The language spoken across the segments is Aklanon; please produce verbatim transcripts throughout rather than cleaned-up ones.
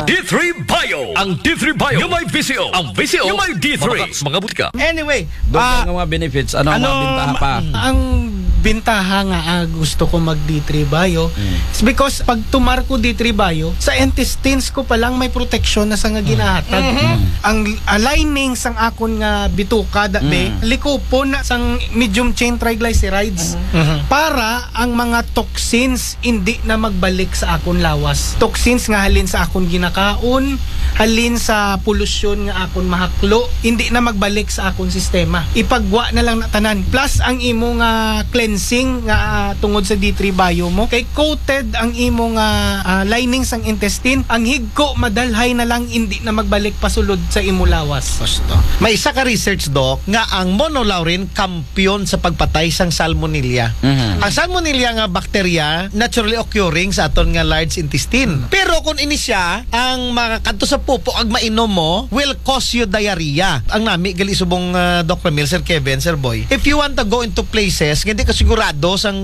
D three Bio. Ang D three Bio. Yung may visyo. Ang visyo. Yung may D three. Mga, mga butika. Anyway, Doon ah, ang mga benefits, ano ang mga ano bintaha ma-, pa? Ang bintaha nga, ah, gusto ko mag D three Bio, hmm, is because pag tumar ko D three Bio, sa intestines ko pa lang may protection na sa nga ginahatag. Mhm. Ang, ah, lining sang akon nga bituka, da, be, hmm, likupon na sang medium chain triglycerides. Mhm. Para ang mga toxins hindi na magbalik sa akon lawas. Toxins nga halin sa akon ginakaon, halin sa polusyon nga akon mahaklo, hindi na magbalik sa akon sistema. Ipagwa na lang na tanan. Plus ang imo nga cleansing nga, ah, tungod sa D three Bio mo, kay coated ang imo nga, ah, lining sang intestine, ang higko madalhay na lang, hindi na magbalik pasulod sa imo lawas. Gusto. May isa ka research, Doc, nga ang monolaurin kampiyon sa pagpatay sang salmonella. Mhm. Ang salmonella nga bakterya naturally occurring sa aton nga large intestine. Mhm. Pero kung ini siya, ang makakadto sa pupo ag mainom mo will cause you diarrhea. Ang nami gali subong, ah, Doc Ramil, Sir Kevin, Sir Boy. If you want to go into places nga di ka sigurado sang,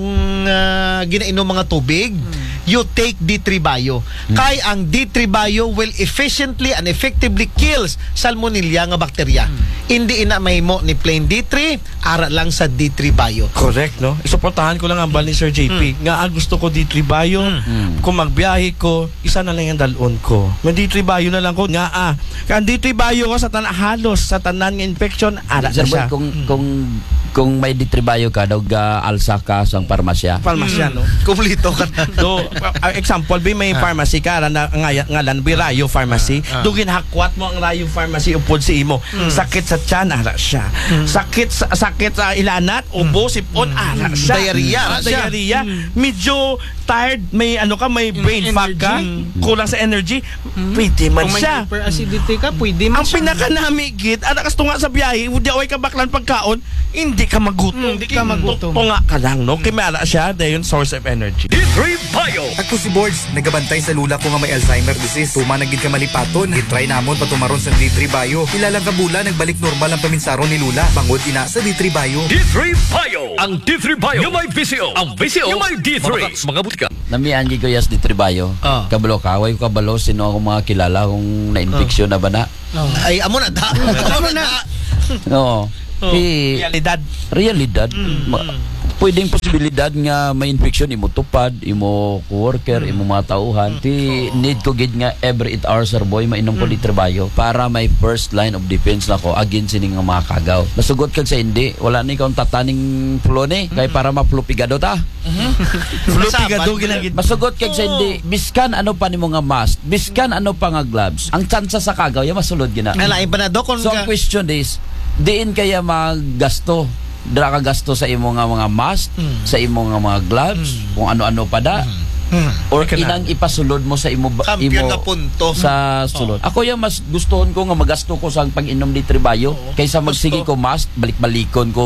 ah, ginainom mga tubig, hmm, you take D three Bio. Hmm. Kay ang D three Bio will efficiently and effectively kills salmonella nga bakterya. Hmm. Hindi ina mahimo ni plain D three, ara lang sa D three Bio. Correct, no? Isuportahan ko lang ang bal ni Sir J P. Hmm. Nga, ah, gusto ko D three Bio. Hmm. Kung magbiyahe ko, isa na lang ang dalon ko. May D three Bio na lang ko. Nga, ah, kay ang D three Bio ko sa tanan, halos sa tanan nga infection, ara na siya. Sir Boy, kung, kung, kung may D three Bio ka, daw ga-alsa ka sa pharmacy. Pharmacy, no? Kumplito ka na. Do, ah, example, bi may pharmacy ka, ara na, nga-, ngalan, bi Rayo Pharmacy. Ah, ah. Do ginhakwat mo ang Rayo Pharmacy upod sa imo. Mm. Sakit sa tiyan, ara siya. Mm. Sakit sa, sakit sa ilanat, ubo, sipon, ara siya. Diarrhea, ara siya. Diarrhea. Mm. Medyo tired, may ano ka, may brain fog ka, energy, kulang sa energy, pwede man siya. Kung may hyperacidity ka, pwede man siya. Ang pinakanami gid, ara kas tunga sa biyahe, di away ka baklan pagkaon, hindi ka magutom. Mm, hindi ka magutom. Tunga ka lang, no? Kay may ara siya, dayon source of energy. D three Bio. Ako si Borge, nagabantay sa lula ko nga may Alzheimer disease. Tuma na gid ka malipaton. Gitry namon patumaron sa D three Bio. Pila lang ka bulan, nagbalik normal ang paminsaron ni lula. Bangod ina sa D three Bio. D three Bio. Ang D three Bio. Yung may visyo. Ang visyo. Yung may D three. Mga, mga butika. Namian gid ko yas D three Bio. Ah. Kabalo ka, way ko kabalo sino akong mga kilala kung na-infection na ba na. Oh. Ay, amo na da. Amo na. Oo. Oh. Di, realidad. Realidad. Mm, ma-, mm. Pwedeng posibilidad nga may infection imo tupad, imo coworker, mm, imo mga tauhan. Mm. Ti, oo, need ko gid nga every eight hours, Sir Boy, mainom ko, mm, D three Bio para may first line of defense na ko against sining nga mga kagaw. Masugot kag sa hindi, wala ni kaon tataning flu ni, kay, mm, para ma-flu pigado ta. Mhm. Flu pigado ginagid. Masugot kag sa hindi, biskan ano pa nimo nga mask, biskan ano pa nga gloves, ang tsansa sa kagaw, ya masulod gina. Nalain pa na, Doc, kung So, ang ka- question is, diin kaya magasto? Dira ka gasto sa imo nga mga mask, mm, sa imo nga mga gloves, mm, kung ano-ano pa da? Mm. Mm. Or inang ipasulod mo sa imo ba, kampiyon imo na punto sa sulod? Oo. Ako ya mas gustuhon ko nga magasto ko sa pag-inom D three Bio, oo, kaysa magsige ko mask, balik-balikon ko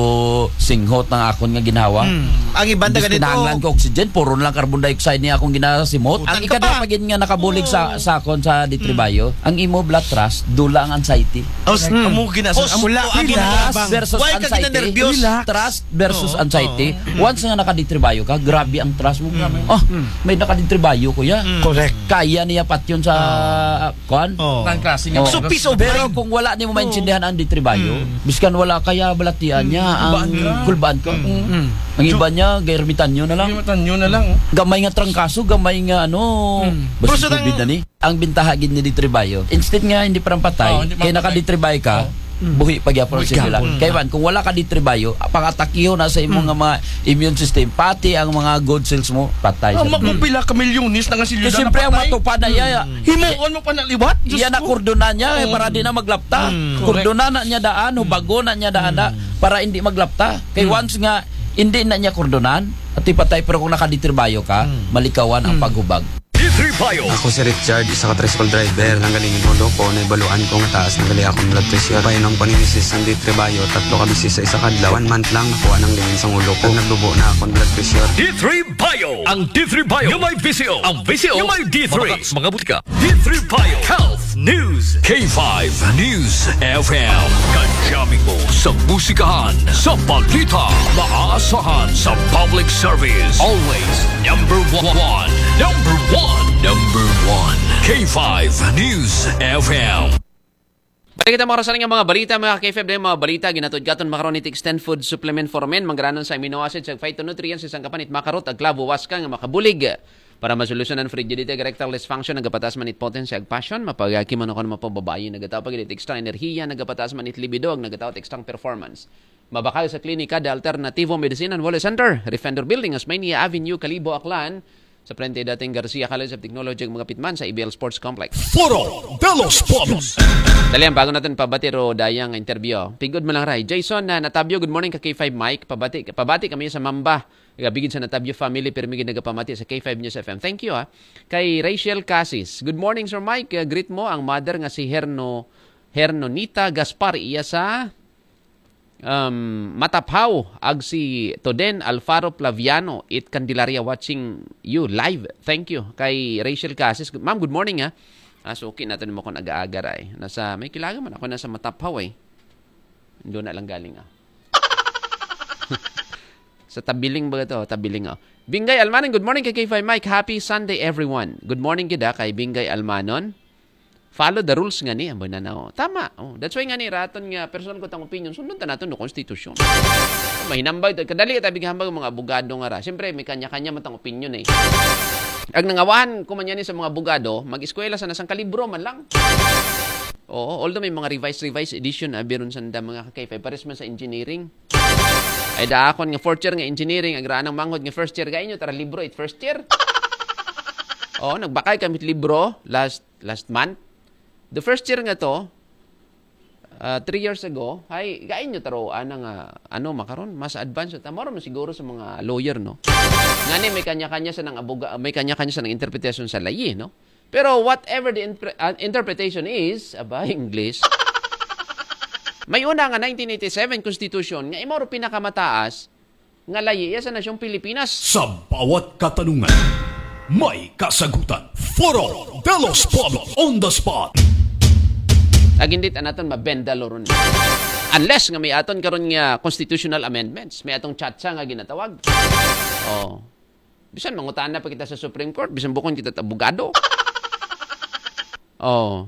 singhot ng akon nga ginhawa. Hmm. Ang iban ta ganito, kinahanglan ko oxygen, puro na lang carbon dioxide niya akong ginasimot. Utang ka pa. Ang ikada pa gid nga nakabulig sa, oo, sa akon sa D three Bio, ang imo blood trust, dula ang anxiety. Os, hmm, amo gina-, os, amo, wala, ang relax, ginabang. Versus anxiety. Why ka ginanerbiyos? Relax. Trust versus anxiety. Oo, oo. Once nga naka-D three Bio ka, grabe ang trust mo. Mm. Oh, may naka-D three Bio ko ya. Mm. Correct. Kaya niya patyon sa, ah, kuan? Oh. Tan klase nga. Oh. So, peace of mind. Pero kung wala nimo maintindihan ang D three Bio, mm, biskan wala kaya balatian niya ang kulbaan ka. Mm. Mm. Ang iba niya, gairmitan nyo na lang. Gairmitan nyo na lang, oh. Gamay nga trangkaso, gamay nga ano. Mm. Basta pero sa COVID tang- na ni. Ang bintaha gid ni D three Bio, instead nga hindi parang patay, oh, hindi kaya naka-D three Bio ka, oh, buhi pa gyapon ang sila. Buhi gyapon. Kaya man, kung wala ka D three Bio, pangatakiho na sa imong, mm, nga mga immune system, pati ang mga good cells mo, patay. Oh, sa magpupila ka milyones na nga sila. Kasi siyempre, ang napatay. Matupad na iya. Mm. Himuon mo pa na liwat? Diyos ko. Iya na kordonan niya, eh, oh, para di na maglapta. Mm. Kordonan na niya daan, hubagon na niya daan na, mm, para hindi maglapta. Kay, mm, once nga, hindi na niya kordonan, at ipatay, pero kung naka-D three Bio ka, mm, malikawan ang, mm, paghubag. D three Bio. Ako si Richard, isa ka tricycle driver. Nanggaling ang ulo ko, naibaluan ko nga taas na gali akong blood pressure. Painom ko ni misis ang D three Bio, tatlo ka bisis sa isa ka adlaw. One month lang, nakuha nang lingin sang ulo ko. Nagdubo na akong blood pressure. D three Bio. Ang D three Bio. Yung may visyo. Ang visyo. Yung may D three. Mga, mga butika. D three Bio. Health News. K five News F M. Kajami mo sa musikahan, sa balita, maaasahan sa public service. Always number one. Number one. Number one. K five News F M. Balik kita mga rasaling nga mga balita, mga K five na mga balita, ginatod katon makaron it Extend Food Supplement for Men, manggaranon sa amino acids, ag phytonutrients, isang kapanit makarot, ag klabo, waska nga makabulig para masolusyonan frigidity, ag erectile dysfunction, nagapataas man it potency, ag passion, mapagaki man ako ng mapababayi, nagataw pag it extra enerhiya, nagapataas man it libido, ag nagataw it extra performance. Mabakal sa klinika de Alternativo Medicine and Wellness Center, Defender Building, Osmeña Avenue, Kalibo, Aklan, sa frente dating Garcia College of Technology, ag magapit man sa A B L Sports Complex. Foro de los Pueblos. Dali, ang bago natin pabati ro dayang interview. Pigod mo lang, Ray. Jason na Natabio, good morning ka K five Mike. Pabati, pabati kami sa Mamba. Gabigid sa Natabio family, pero may nagapamati sa K five News F M. Thank you, ha. Kay Rachel Casis, good morning, Sir Mike. Uh, greet mo ang mother nga si Herno, Hernonita Gaspar, iya sa um, Mataphaw, ag si Toden Alfaro Plaviano, it Candelaria, watching you live. Thank you. Kay Rachel Casis, ma'am, good morning, ha. Ah, suki natin mo kung aga-aga, Ray. Nasa, may kilaga man ako, nasa Mataphaw, eh. Doon na lang galing, ah. Sa Tabiling ba to? Tabiling, oh. Bingay Almanon, good morning kay K five Mike. Happy Sunday, everyone. Good morning, gid, ha, kay Bingay Almanon. Follow the rules nga ni, ang bananaw. Tama. Oh, that's why nga ni raton nga personal ko tang opinion, sundon ta naton no constitution. Mahinambag, kadali ta bighambag mga abogado nga ra. Siyempre, may kanya-kanya man tang opinion, eh. Ag nangawahan ko man yan sa mga abogado, mag-eskwela sa nasang kalibro man lang. Oo, although may mga revised, revised edition, ah, biron sanda mga ka-K five, pares man sa engineering. Ay, da akon nga fourth year nga engineering, agraanang manghod nga first year, gainyo tara libro it first year. Oo, nagbakay kami libro last last month. The first year nga to, ah, three years ago, ay, gainyo taro ana nga, ano, makaron, mas advanced ta. Moro man siguro sa mga lawyer, no? Ngani, may kanya-kanya sa nang abuga, may kanya-kanya sa nang interpretation sa layi, no? Pero whatever the impre- ah, interpretation is, aba, English, may una nga nineteen eighty-seven Constitution nga imo ro pinakamataas nga layi iya sa nasyong Pilipinas. Sa bawat katanungan, may kasagutan. Foro de los Pueblos on the spot. Agindit anaton mabenda loron. Unless nga may aton karon nga constitutional amendments, may atong chatsa nga ginatawag. Oh. Bisan mangutana pa kita sa Supreme Court, bisan bukon kita abogado. Oh.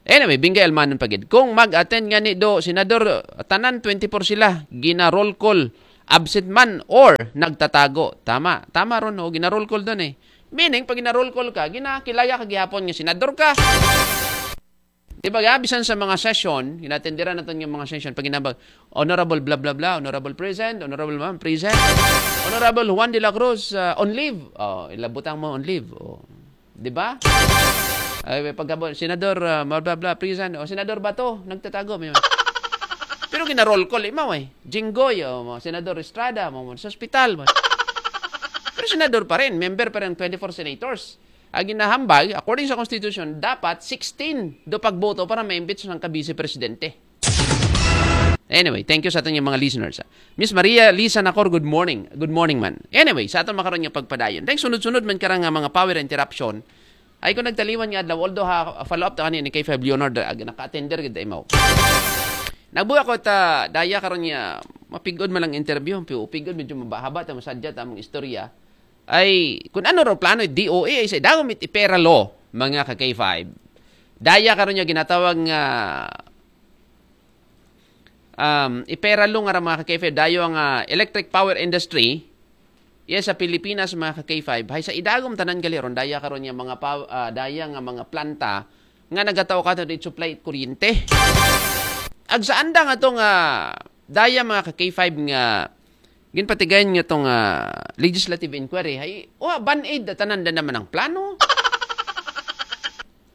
Anyway, Bingay Almanon pagid. Kung mag-attend nga ni do, senador, tanan twenty-four sila, gina-roll call, absent man or nagtatago. Tama, tama ron, oh, gina-roll call doon eh. Meaning, pag gina-roll call ka, ginakilaya ka gihapon nga senador ka. Di ba, ga, bisan sa mga session, ginatenderan natin yung mga session, pag ginabag, Honorable blah blah blah, Honorable present, Honorable ma'am present, Honorable Juan de la Cruz uh, on leave. Oh, ilabutang mo on leave. Oh. Di ba? Ay, pagkabo, Senador uh, blah blah blah present, o Senador Bato, nagtatago. May... Pero gina-roll call, imaw eh. Jinggoy, oh, Senador Estrada, mo sa ospital. Mo. Pero senador pa rin, member pa rin twenty-four senators. Ang ginahambag, according sa Constitution, dapat sixteen do pagboto para ma-impeach ng kabise presidente. Anyway, thank you sa ating mga listeners. Miss Maria Lisa Nacor, good morning. Good morning, man. Anyway, sa aton makaron nga pagpadayon. Thanks, sunod-sunod man karang nga mga power interruption. Ay ko nagtaliwan nga adlaw, although ha, follow up to ani ni K five Leonard, ag naka-attender gid imaw. Nagbuga ko ta daya karon nga mapigod man lang interview, pigod medyo mabahaba ta masadya ta among istorya. Ay kun ano raw plano D O A ay sa dagom it ipera law, mga ka K five. Daya karon nga ginatawag nga um, ipera law nga ra mga ka K five, dayo ang ah, electric power industry iya sa Pilipinas, mga ka K five, hay sa idagom tanan gali ron daya karon nga mga pa, ah, daya nga mga planta nga nagataw ka di supply kuryente. Ag sa andang ato nga daya mga ka K five nga ginpatigayon nga tong ah, legislative inquiry, hay wa band-aid da tanan da naman ang plano.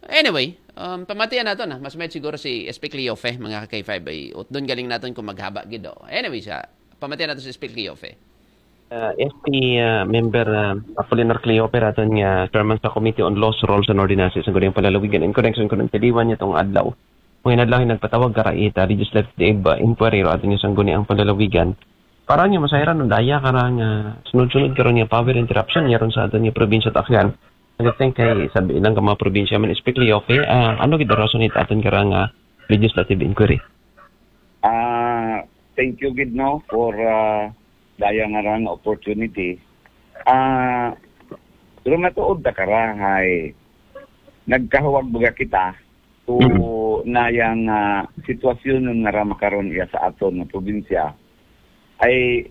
Anyway, um, pamatian nato na. Mas may siguro si S P Cleofe, mga ka K five, ay utdon galing naton kung maghaba gid, oh. Anyway, sa pamatian nato si S P Cleofe. Uh, S P uh, member uh, Apolinar Cleofe raton nga chairman sa Committee on Laws, Rules and Ordinances ang Gudang Palalawigan in connection kun ang taliwan niya tong adlaw. Mga inadlaw nagpatawag ka rait uh, legislative uh, inquiry ro aton niya sangguni ang palalawigan. Para niya masayran no daya karang uh, sunod-sunod karon niya power interruption niya ron sa aton niya probinsya Taklan. I think kay sabi lang ka mga probinsya man, especially Yofi, ah, ano gid rason it aton kara nga legislative inquiry? Ah, thank you gid, no, for ah, daya nga rang opportunity. Ah, pero matuod ta kara hay nagkahuwag baga kita to na yang ah, sitwasyon nga ra makaron iya sa aton nga probinsya ay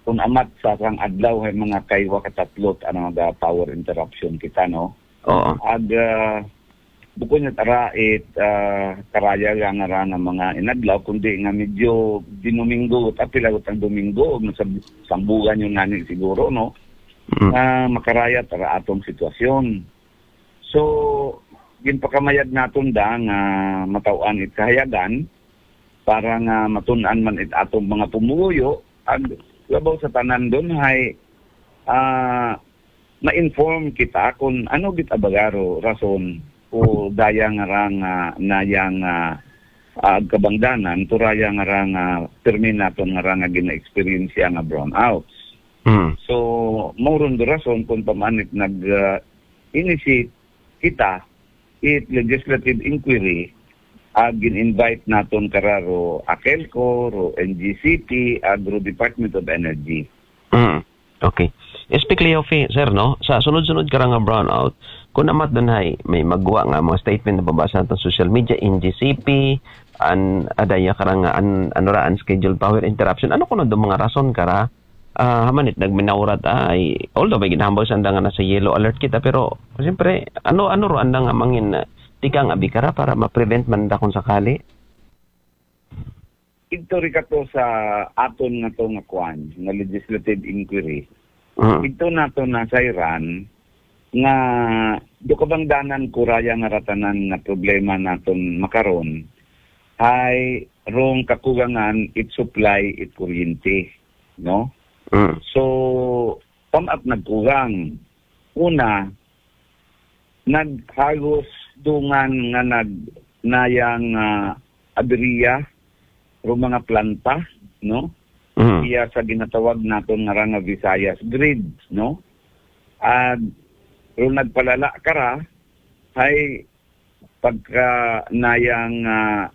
kung amat sa rang adlaw hay mga kaywa katatlot ano nga power interruption kita, no? Oo. Ag ah, bukod nga tara it ah, karaya nga nga ra nga mga inadlaw, kundi nga medyo dinominggo, apil agot ang Domingo, o sa sambugan yung nani siguro, no? Mm. Nga makaraya tara atong sitwasyon. So, ginpakamayad naton da nga mataw-an it kahayagan para nga matun-an man it atong mga pumuyo, ag labaw sa tanan dun hay ah, ma-inform kita kung ano git abagaro rason o daya nga ra nga nayang ah, ah, kabangdanan to raya nga ra nga pirmi naton nga ra nga gina-experience nga brownouts. Mm. So, mauron do rason kung pamanit nag ah, initiate kita it legislative inquiry ag gin-invite naton kararo AKELCO, ro N G C P, ag ro Department of Energy. Mm. Okay. Especially Yofi, sir, no? Sa sunod-sunod kara nga brownout, kung amat dun hay, may magwa nga mga statement na babasa sa social media, N G C P, an adaya kara nga an, ano ra, unscheduled power interruption. Ano kuno do mga rason kara? Ah, hamanit nagminaurat ay, although may ginahambal sa anda nga nasa yellow alert kita, pero siyempre, ano ano ro anda nga mangin ah, tikang abi kara para ma-prevent man da kung sakali? Ito ri kato sa aton nga to nga kwan, nga legislative inquiry. Mm. Ito nato nasayran nga do kabangdanan ko raya nga ra tanan nga problema naton makaron hay rong kakugangan it supply it kuryente, no? Mm. So, pamat nagkugang. Una, naghagos dungan nga nag nayang ah, abiriya ro mga planta, no? Mm. Iya sa ginatawag naton nga ra nga Visayas grid, no? At ro nagpalala kara hay pagka nayang ah,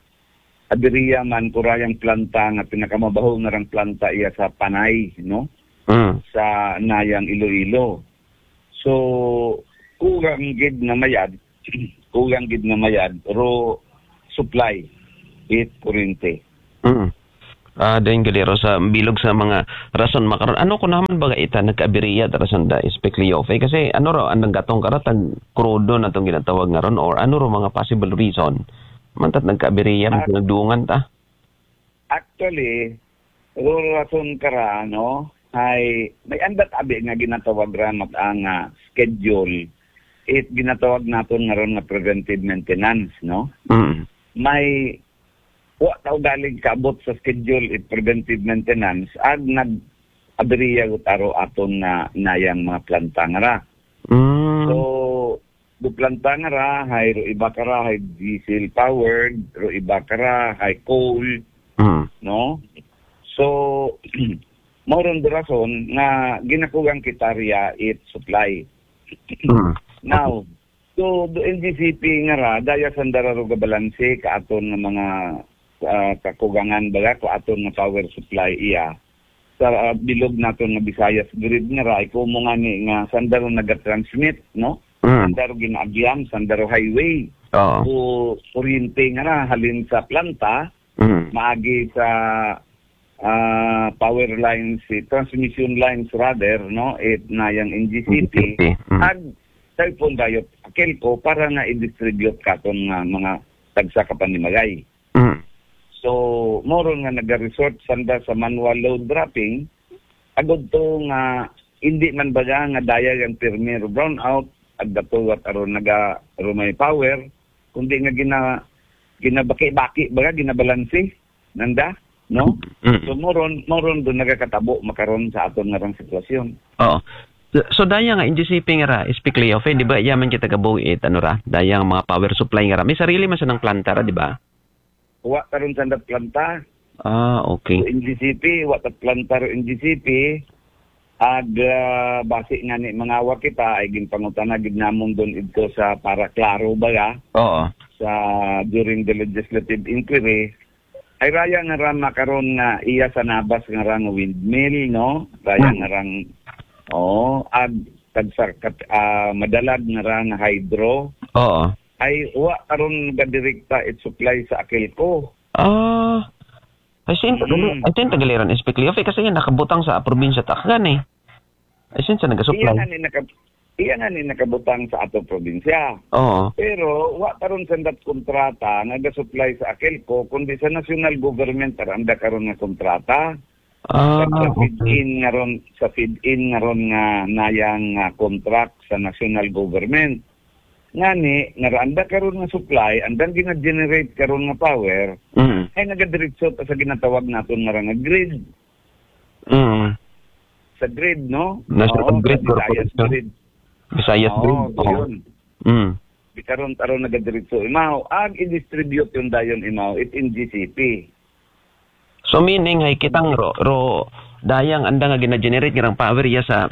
abiriya man ko rayang planta nga pinakamabaho nga rang planta iya sa Panay, no? Mm. Sa nayang Iloilo. So, kugang gid nga mayad, kugang gid nga mayad ro supply it kuryente. Mm. Ah, dahil galero sa bilog sa mga rason makaron. Ano ko naman baga ita nagkaabiriya tara sanda, especially Yofi? Kasi ano raw, anong gatong kara, tag krudo na tong ginatawag nga ron? Or ano raw mga possible reason? Mantat nagkaabiriya, Ah. Nagdungan ta? Actually, ro rason kara, no? Hay, may andat abi nga ginatawag ra mat ang ah, schedule. It ginatawag naton nga ron nga preventive maintenance, no? Mm. May wa tao galing kaabot sa schedule it preventive maintenance ag nag abiriya gud aro aton nga nayang mga planta nga ra. Mm. So, do planta nga ra, hay ro iba kara, hay diesel powered, ro iba kara, hay coal, Mm. no? So, mauron do rason nga ginakugang kita riya it supply. Mm. Now, so do N G C P nga ra, daya sanda ra ro gabalanse ka aton nga mga ah, kakugangan baga ko aton nga power supply iya sa ah, bilog naton nga Visayas grid nga ra, iko mo nga ni nga sanda ro nagatransmit, no? Mm. Sanda ro ginaagian, sanda ro highway. Oo. O kuryente nga ra halin sa planta, Mm. maagi sa ah, power lines, eh, transmission lines rather, no? It na yang N G C P. Mm. Ag cellphone dayo, AKELCO para nga i-distribute katon nga mga tagsa ka panimagay. Mm. So, moron nga nag-resort sanda sa manual load dropping, agod to nga hindi man baga nga daya ang pirmi ro brownout, ag datuwat aron naga ro may power, kundi nga gina ginabaki-baki baga, ginabalanse nanda, no? Mm. So moron moron do nagakatabo makaron sa aton nga rang sitwasyon. Oo. So, so daya nga N G C P nga ra, especially of, eh, di ba, yaman kita gabuhi it, ano ra, daya nga mga power supply nga ra. May sarili man sa nang planta ra, di ba? Wa karon sa ndat planta. Ah, okay. So, N G C P, wa ta planta ro N G C P. Ag, ah, basi ngani mangawag kita, ay ginpangutana gid namon don idto sa para klaro ba ya, Oo. sa during the legislative inquiry, ay raya nga ra makaron nga iya sa nabas nga ra nga windmill, no? Raya Hmm. nga rang, oo, ag tagsa kat, ah, madalag nga ra nga hydro. Oo. Ay wa karon gadirekta it supply sa Aquelco. Ah. Ay, sin Mm. ay, sin tagaliran, Inspector Yofe, kasi yan nakabutang sa probinsya ta Aklan eh. Ay, sin sa Iya nagasupply. nga ni naka, iya nga ni nakabutang sa ato probinsya. Oo. Pero wa karon sandat kontrata nga gasupply sa Aquelco, kundi sa national government ara anda karon nga kontrata. Ah, Sa okay. feed-in nga ron, sa feed-in nga ron nga nayang, ah, contract sa national government. Ngani, nga ra anda karon nga supply, andang gina-generate karon nga power, Mm. ay nagadiretso ta sa ginatawag naton nga ra nga grid. Mm. Sa grid, no? National Oo, Grid sa Visayas Corporation. Grid. Visayas Oo, Grid. Oo. doon. Mm. Di karon taro nagadiretso imaw. Ag i-distribute yun dayon imaw, it N G C P. So meaning ay kitang ro, ro dayang anda nga gina-generate nga rang power iya sa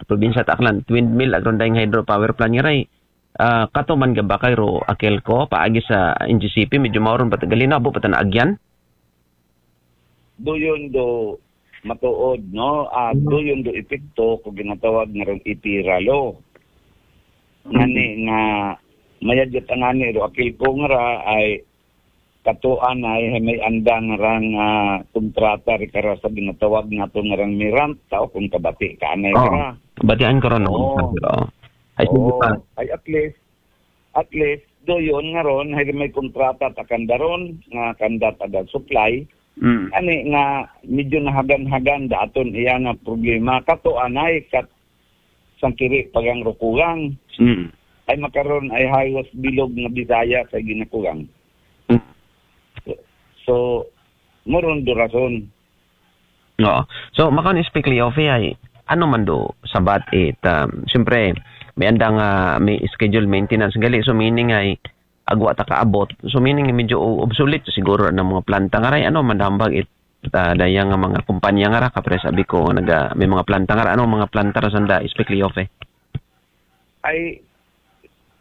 probinsya ta Aklan, windmill, agron dayang hydro power plant nga ray. Ah, kato man gabakay ro Aquelco, paagi sa N G C P, medyo mauron pa ta, galinaw, abo pa ta naagyan? Doyon do matuod, no? Ah, doyon do epekto ko ginatawag nga rong ipira law. Ngani nga mayadya ta ngani ro Aquelco nga ra ay katuan ay, ay may andang rang, ah, kontrata ri kara sa ginatawag nato nga rang merant, tao kung kabati ka anay Oo. Kara. Batian ko ron, no? Oo. Oo. Ay, sige Oo. pa. Ay, at least, at least, doyon nga ron, hay may kontrata ta kanda ron, nga kanda taga supply. Mm. Ani nga, medyo nahagan-hagan da aton iya nga problema. Katuan ay kat sangkiri pagang rukugang. Mm. Ay makaron ay halos bilog nga Bisaya sa ginakugang. Mm. So, moron do rason. Oo. So, makaon Inspector Yofe ay, ano man do sabat it, um, siyempre, may andang, ah, may schedule maintenance gali. So, meaning ay, agwa ta kaabot. So, meaning medyo obsolete siguro ng mga planta nga ray. Ano man dambag it, ah, dayang nga mga kumpanya nga ra, kapre sabi ko, naga, may mga planta nga ra. Ano mga planta ra sanda, Inspector Yofe? Ay,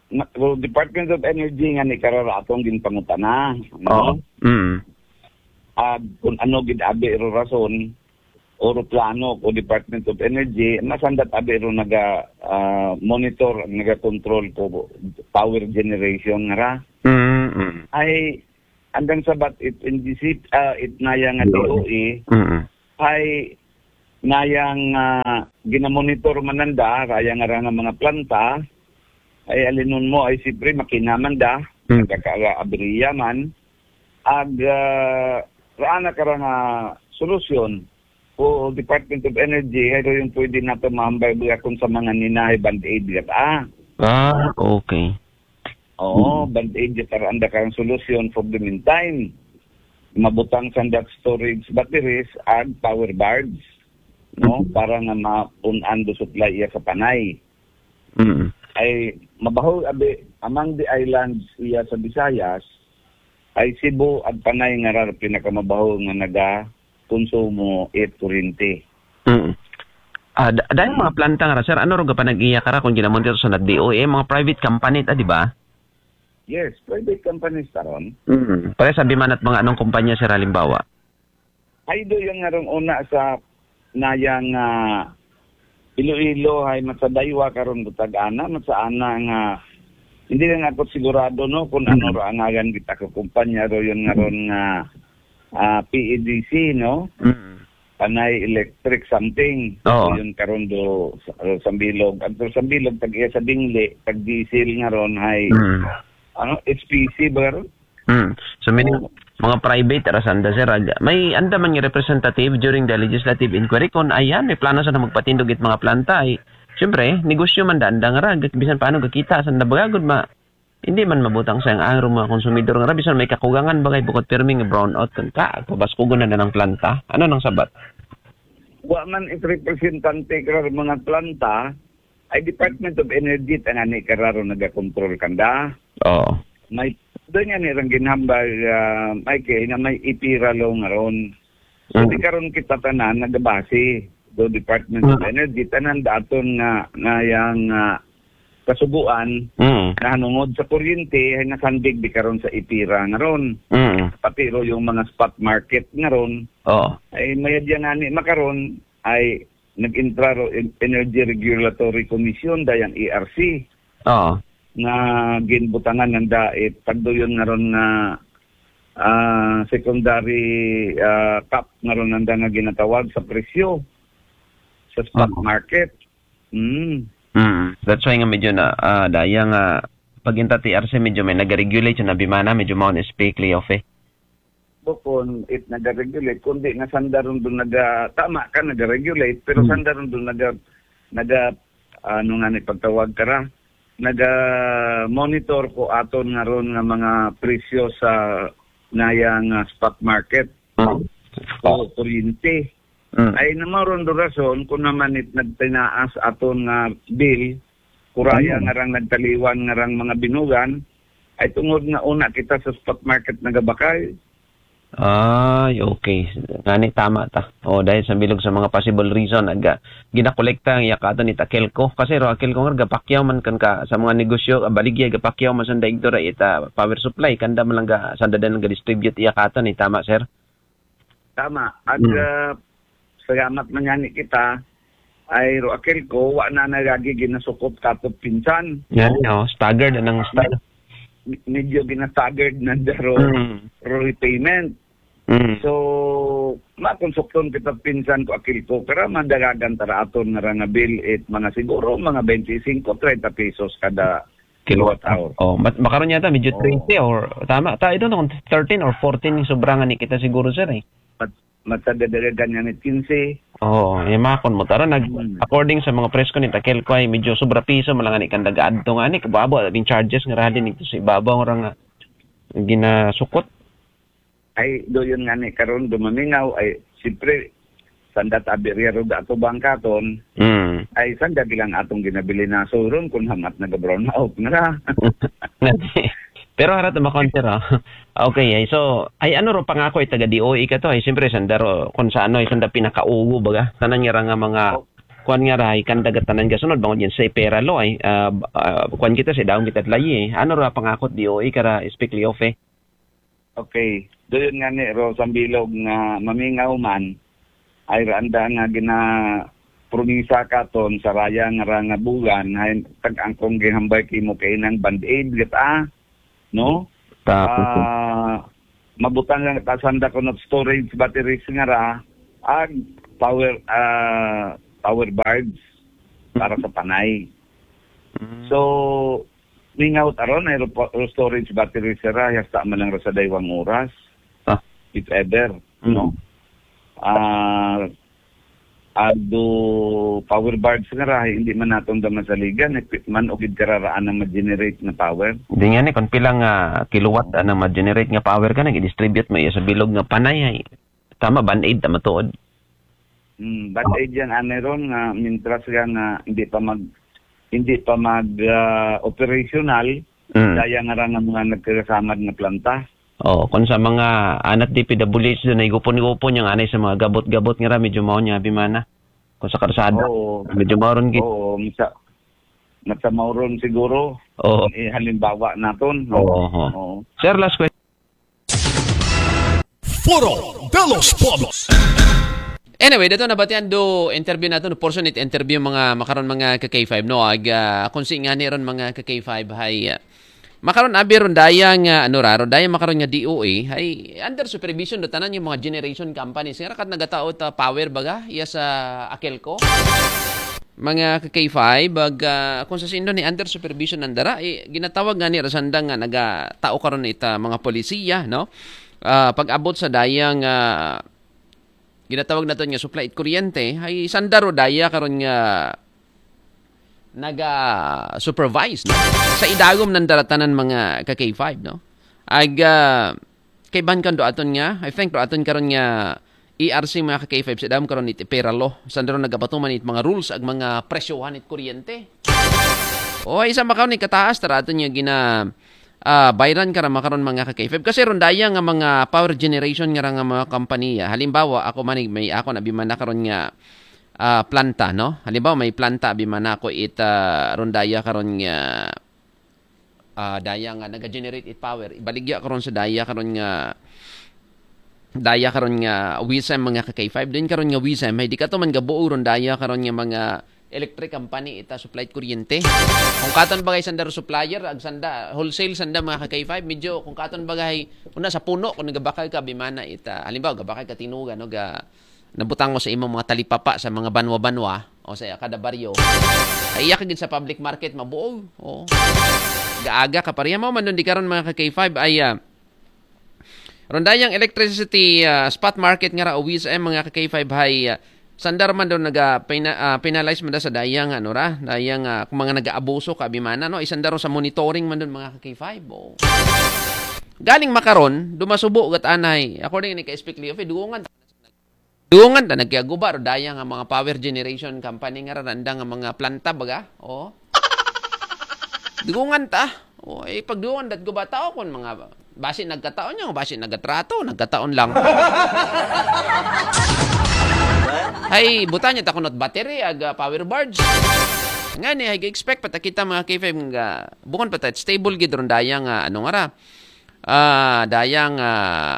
na, well, Department of Energy nga ni karara atong ginpangutana, Oo. no? Mm. Ag kung ano gid abi ro rason, o ro plano ko Department of Energy, masandat abi ro naga, ah, monitor, naga control ko power generation nga ra. Mm, mm. Ay, andang sabat it N G C, ah, it naya nga Yun. D O E, Mm. ay nayang, ah, ginamonitor man nanda, raya nga ra nga mga planta, ay alinon mo, ay siyempre makina man da, Mm. nagkakaabriya man, ag, ah, raan na ka ra nga solusyon, o Department of Energy, ay ro yung pwede nato mahambay buya kung sa mga ninahay band-aid gat, ah. Ah, okay. Oo, Mm. band-aid gat, ara anda karang solusyon for the meantime. Mabutang sandat storage batteries ag power barge, no? Mm. Para nga mapun-an do supply iya sa Panay. Mm. Ay mabaho abi among the islands iya sa Visayas, ay Cebu ag Panay nga ra pinakamabaho nga naga konsumo it kuryente. Mm. Ah, da-, dahil mga planta nga ra, sir, ano ro gapanag-iya kara kung ginamon dito sa D O E, mga private company ta, di ba? Yes, private companies taron. Mm. Pare sabi man at mga anong kumpanya, sir, halimbawa? Ay do yung nga rong una sa nayang, ah, Iloilo, ay matsa Daiwa karon butag ana, matsa ana nga hindi lang ako sigurado, no, kung ano Mm. ro angagan kita ka kumpanya ro yun nga ron nga, ah, P E D C, no? Mm. Panay Electric something. Oo. So, yun karon do sa, uh, Sambilog. Ang to Sambilog, tag iya sa Dingli, tag diesel nga ron, hay, Mm. ano, H P C ba ron? Mm. So, meaning, Oo. mga private, ara sanda, sir, ag-, may anda man nga representative during the legislative inquiry kung ayan, may plano sa na magpatindog it mga planta, ay, siyempre, negosyo man da, anda nga ra, bisan paano gakita, sanda bagagod ma, hindi man mabutang sa ang angro mga konsumidor nga ra, bisan may kakugangan bagay bukod pirmi nga brownout, kung ka, pabaskugon na na ng planta. Ano nang sabat? Wa man it representante kara mga planta, ay Department of Energy tangani kararo nagakontrol kanda. Oo. May doon nga nirang ginhambal, ah, may kay na may ipira law nga ron. So, Mm. di karon kita tanan nagabase. do Department of Mm. Energy, tanan da aton nga, nga yang, ah, kasuguan, Mm. nahanungod sa kuryente, ay nasandig di karon sa ipira nga ron. Mm. Pati ro yung mga spot market nga ron, Oo. ay mayad yan nga ni makaron, ay nag-intra ro en-, Energy Regulatory Commission, dayang E R C, Oo. nga ginbutangan nanda, eh, tagduyon nga ron nga, ah, secondary, ah, cap nga ron nanda nga ginatawag sa presyo sa spot Oo. market. Mm. Mm. That's why nga medyo na, ah, daya nga pag inta T R C medyo may nag-regulate sa nabimana, medyo mao na speak, Leo, eh. Bukon it nag-regulate, kundi nga sanda ron doon naga, tama ka, nag-regulate, pero Hmm. sanda ron doon naga, naga, ano nga ni pagtawag ka ra, naga-monitor ko aton nga ron nga mga presyo sa nayang, ah, spot market Hmm. o kuryente. Mm. Ay, namaron do rason kung naman it nagtinaas aton nga bill, kuraya Ano? Nga rang nagtaliwan nga rang mga binugan, ay tungod nga una kita sa spot market nagabakal. Ay, okay. Ngani tama ta. O, dahil sa bilog sa mga possible reason, aga, ginakolekta ang iya katon ni Takelko. Kasi ro, Akelko nga, gapakyaw man kan ka sa mga negosyo, ah, baligya, gapakyaw man sa daigdo ra ita power supply, kanda man lang ga, sanda din ga-distribute iya katon, eh, tama, sir? Tama. At, Mm. ah, salamat man nga ni kita, ay ro Akelco, wa na nagagi ginasukop katop pinsan. Yan, no? Staggered, anang stag- Med-, medyo ginastaggered na daro Mm. ro repayment. Mm. So, makonsukton kita pinsan ko Akelco, kara madagagan tara aton nga ra nga bill it mga siguro, mga twenty-five, thirty pesos kada kilowatt hour. Oh, mat-, makaron yata, medyo Oh. twenty or, tama, ta, I don't know kung thirteen or fourteen yung sobra nga ni kita siguro, sir, eh. Mat-, matadadagagan nga ni quince. Oo, eh, makon mo. Tara, nag-, Hmm. according sa mga presko ni Takelco ay medyo sobra piso, malanga ni kandaga adto nga ni, kababo, abing charges nga rahalin nito sa ibabaw nga nga ginasukot. Ay, do yun nga ni karon dumamingaw, ay, siyempre, sanda tabi riya ro da ato bangkaton, Mm. ay, sanda bilang atong ginabilin na suron kung hamat naga-brown out na ra. Pero harat na makonter, ah. Okay, ay, so, ay, ano ro pangako ay taga D O E ka to? Ay, siyempre, sanda ro, kung sa ano, ay, sanda pinakaugo, baga? Tanan nga ra nga mga, Oh. kuwan nga ra, ay, kandaga tanan ga sunod, bangod yan sa pera lo, ay, ah, ah, kuwan kita, sa daong kita layi, eh. Ano ro pangako D O E ka ra, Speak Liofe? Okay. Doon nga ni ro sa bilog nga mamingaw man, ay raanda nga gina promisa katon sa raya nga ra nga bulan, ay tag-angkong gihambay kimo kay nang band-aid, gata, no? Tapos, Ah, mabutang nga ta sanda ko ng storage batteries nga ra, ag power, ah, power bards para sa panay. Mm. So, mingaw taron, ay ro-, ro-, storage battery sira, hasta man lang ra sa daywang oras, Ah. if ever, Mm. no? Ah, ado power bards nga ra, hindi man naton da masaligan, eh, man ugid kararaan ang ma-generate na power. Di nga ni, kung pila nga kilowatt ang ma-generate nga power ka, nag-distribute mo iya sa bilog nga panay, ay. Tama, band-aid, tama tuod. Hmm, band-aid yan, ani ron, nga mintras ka nga hindi pa mag, hindi pa mag, ah, operational, Mm. daya nga ra nga mga nagkakasamad nga planta. Oh, kung sa mga anat D P W H doon, ay gupon-gupon yung anay sa mga gabot-gabot nga ra, medyo mao niya, bimana. Kung sa karsada, Oo. medyo mao ron gid. Oo, misa-, masa mao ron siguro. Oo. Eh, halimbawa naton, no? Oo, oo. Oo. Sir, last question. Foro de los Pueblos. Anyway, dato nabatian do interview nato, no, portion it interview mga makaron mga ka K five, no? Ag, ah, kung si nga ni ron mga ka K five, hay, ah, makaron abi ron daya nga, ano ra, ron daya makaron nga D O A, hay, under supervision do tanan yung mga generation companies. Nga ra kat nagatao ta power baga, iya sa Akelco. Mga ka K five, ag, ah, kung sa sindo ni under supervision ng dara, eh, ginatawag nga ni rasanda nga nagatao karon ita mga polisiya, no? Ah, pag-abot sa dayang, ah, ginatawag naton nga supply it kuryente, ay sanda ro daya karon nga naga-supervise, no? Sa idagom ng daratanan mga ka K five, no? Ag, ah, kay ban kan do aton nga, I think do aton karon nga E R C mga ka K five sa dam karon it pera law. Sanda ro nagapatuman it mga rules ag mga presyohan it kuryente. O, isa makaon ni kataas, tara aton nga gina, ah, bayran ka ra makaron mga ka K five. Kasi ron daya nga mga power generation nga ra nga mga kompanya. Halimbawa, ako manig may ako na bimana karon nga, ah, planta, no? Halimbawa, may planta, abi man ako it, ah, ron daya karon nga, ah, daya nga naga-generate it power. Ibaligya karon sa daya karon nga, daya karon nga WISM, mga ka-K five. Din karon nga WISM, hay di kato man gabuo ron daya karon nga mga electric company ita supply kuryente. Kung katon bagay sanda ro supplier, ag sanda wholesale sanda, mga ka-K five, medyo kung katon bagay una sa puno, kung nagabakal ka, abi man na ita. Halimbawa, gabakal ka tinugan, no, ga nabutang ko sa imong mga talipapa sa mga banwa-banwa o sa kada baryo. Ay iya ka gid sa public market mabuo. O. Gaaga ka pareha mo man dun di karon, mga ka-K five, ay, ah, ron dayang electricity, ah, spot market nga ra o WISM, mga ka-K five, hay, ah, sandar man daw naga pina-, ah, penalize man da sa dayang ano ra, dayang, ah, kung mga nagaabuso ka, abi man na, no, isandar ro sa monitoring man dun, mga ka-K five. O. Galing makaron, dumasubo gat anay. According ni ka-Speak Leo, dugongan dugongan ta nagkiaguba ro daya nga mga power generation company nga ra, randa nga mga planta baga. O. Dugongan ta. O, eh, pagdugongan dat guba tao kon mga basi nagkataon niya, basi nagatrato, nagkataon lang. Hay, buta niya ta kunot battery, aga power barge. Nga ni, hay expect pa ta kita, mga K five, nga bukon pa ta stable gid ron daya nga ano nga ra. Ah, daya nga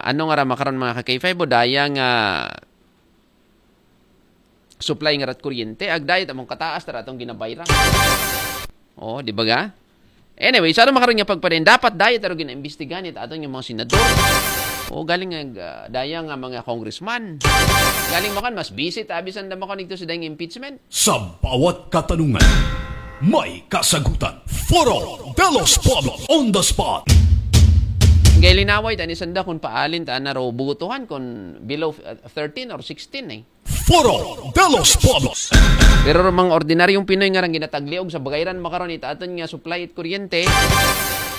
ano nga ra makaron, mga ka-K five, o daya nga supply nga rat kuryente, ag dayat among kataas tara atong ginabayran. O, di ba ga? Anyway, sa makaron nga pagpadayon, dapat dayat aro ginaimbestigahan it aton nga mga senador. O, galing nga, ah, daya nga mga congressman. Galing makan, mas busy ta abi sanda makonekto sa dayang impeachment. Sa bawat katanungan, may kasagutan. Foro de los Pueblos on the spot. Kay linaway ta ni sanda kung paalin ta na ro butuhan kung below, uh, thirteen or sixteen eh. Foro de los Pueblos. Pero ro mga ordinaryong Pinoy nga rang ginatagliog sa bagayran makaron it aton nga supply it kuryente.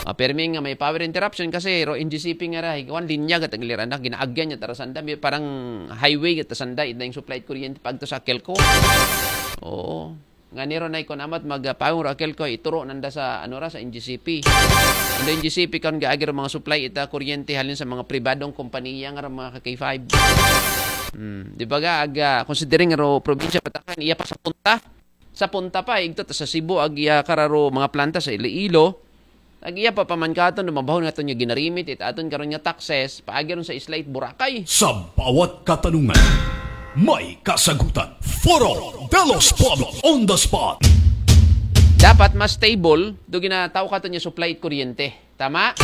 Ah, permi nga may power interruption kasi ro N G C P nga ra, hikuan linya gat agliran na, ginaagyan niya tara sanda, may parang highway gat sanda, ita yung supply it kuryente pagto sa Kelco. Oo. Nga niro na ikon amat magpawong ra Kelco, ituro nanda sa ano ra, sa N G C P. Ang N G C P karon gaagi ro mga supply ita kuryente halin sa mga pribadong kompanya nga ra, mga ka-K five. Hmm, di ba ga aga considering ro probinsya Bataan, iya pa sa punta. Sa punta pa igto ta sa Cebu, ag iya kararo mga planta sa Iloilo. Ag iya pa paman katon, dumabahon nga aton nga ginarimit it aton karon nga taxes paagi ron sa isla it Boracay. Sa bawat katanungan, may kasagutan. Foro de los Pueblos on the spot. Dapat mas stable do ginataw katon nga supply it kuryente. Tama?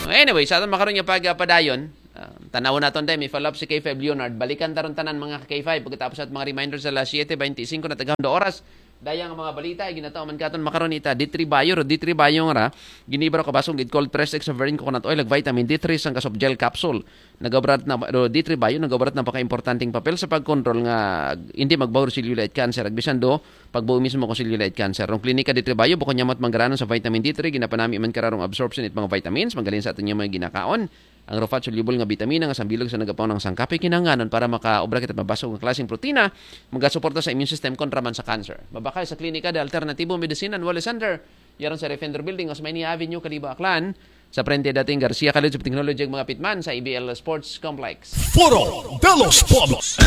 Anyway, sa aton makaron nga pagpadayon, ah, tanawon naton day, may follow-up si K five Leonard. Balikan taron tanan, mga K five, pagkatapos at mga reminder sa alas siyete beintisinko na tagahon do oras. Dayang mga balita ay ginataw man katon makaron ita D three Bio, ro D three Bio nga ra, giniba ro kabasong gid cold pressed extra virgin coconut oil, ag vitamin D three, sangka soft gel capsule. Nagabarat na, ro D three Bio, nagabarat na paka-importanteng papel sa pagkontrol nga hindi magbaho ro cellulite cancer, ag bisan do pagbaho mismo ko cellulite cancer. Rong klinika D three Bio, bukon niya mat manggaranon sa vitamin D three, ginapanami man kararong absorption it mga vitamins, magaling sa aton niya mga ginakaon. Ang ro fat soluble nga bitamina nga sambilog sa nagapaon ng sangkapi kinahanglanon para makaobra kita mabasog nga klaseng protina, magasuporta sa immune system kontra man sa cancer. Mabakal sa klinika de Alternativo Medicine and Wellness Center, yaron sa Refender Building, Osmeña Avenue, Kalibo, Aklan, sa frente dating Garcia College of Technology, ag mga pitman sa A B L Sports Complex. Foro de los Pueblos.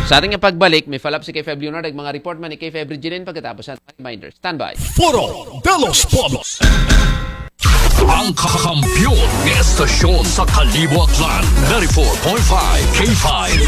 Sa ating pagbalik, may follow-up si K five Leonard, ag mga report man ni K five Regilin pagkatapos sa reminder. Standby. Foro de los Pueblos. Ang kakampiyon ng estasyon sa Kalibo, Aklan, ninety-four point five K five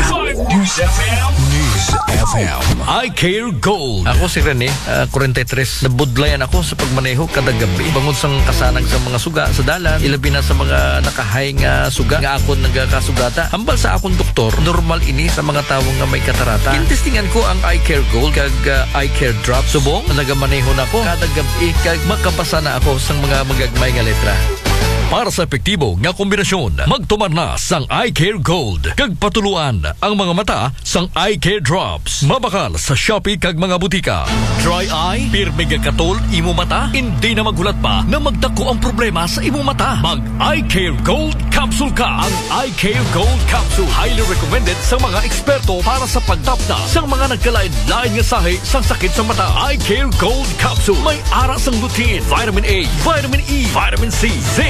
News F M. News F M. I Care Gold. Ako si Rene, ah, forty-three. Nabudlayan ako sa pagmaneho kada gabi. Bangod sa kasanag sa mga suga sa dalan, ilabi na sa mga nakahay nga suga nga akon nagakasugata. Hambal sa akong doktor, normal ini sa mga tawo nga may katarata. Gintestingan ko ang Eye Care Gold kag, ah, Eye Care Drop. Subong, nagamaneho na ko kada gabi kag makabasa na ako sa mga magagmay nga letra. Para sa epektibo nga kombinasyon, magtumar na sang Eye Care Gold kag patuluan ang mga mata sang Eye Care Drops. Mabakal sa Shopee kag mga butika. Dry eye, pirmi nga katol imo mata, hindi na maghulat pa na magdako ang problema sa imo mata. Mag Eye Care Gold Capsule ka. Ang Eye Care Gold Capsule, highly recommended sa mga eksperto para sa pagtapna sa mga nagkalain-lain nga sahi sang sakit sa mata. Eye Care Gold Capsule, may ara sang lutein, vitamin A, vitamin E, vitamin C, zinc,